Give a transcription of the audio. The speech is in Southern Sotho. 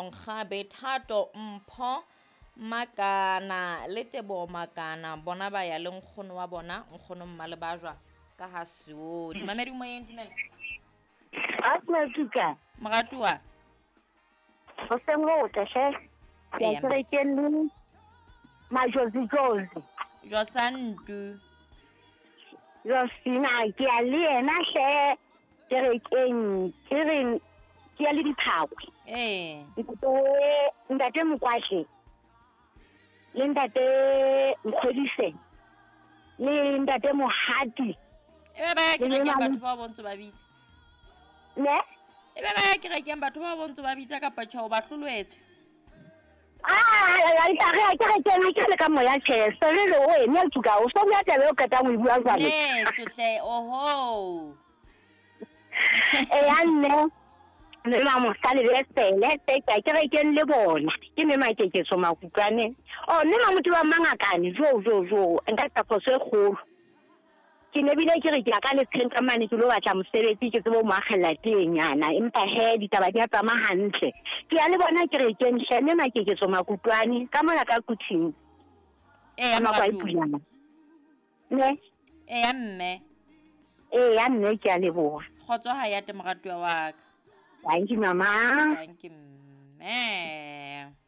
Nkgabe Thato Mpho Makana le Teboho Makana bona ba ya le nkgono wa bona nkgono Mmalebajwa ka ha Seodi. Mamedi moyeng dumela. Asma Moratuwa. Hoseng ho hotle hle. Ke a kerekeng le Majozi Jozi. Josantu. Josina ke a le yena hle kerekeng ke re ke ya le diphakwe. Ee. Ntate ntate Mokwatle le ntate Nkgodise le ntate Mohati. E be ba ya kerekeng batho ba bontse ba bitsa. Ne? E be ba ya kerekeng batho ba bontse ba bitsa kapa tjho ba hloloetswe. Ah, ke re kena ke le ka moya tjhe se re le o ene tsuka o so bua taba e o qetang ho e bua jwale. Ne sohle oho. Eya nne mme mamosale le sele tse ke ke rekeng le bona ke mme makeketso makutlwane o mme mamotho wa mangakane jo jo jo nka etsa phoso e kgolo ke ne bile ke re ke ya ka letsheng ka mane ke lo batla mosebetsi ke tsebe ho mo akgella tenyana empa he ditaba di a tsamaya hantle ke ya le bona ke rekeng hle mme makeketso makutlwane ka mona ka kuthing Eya ka moratuwa. makwai ne Eya mme. Eya mme ke a leboha. Kgotso ha ya te moratuwa wa ka. Thank you mama. Thank you mme.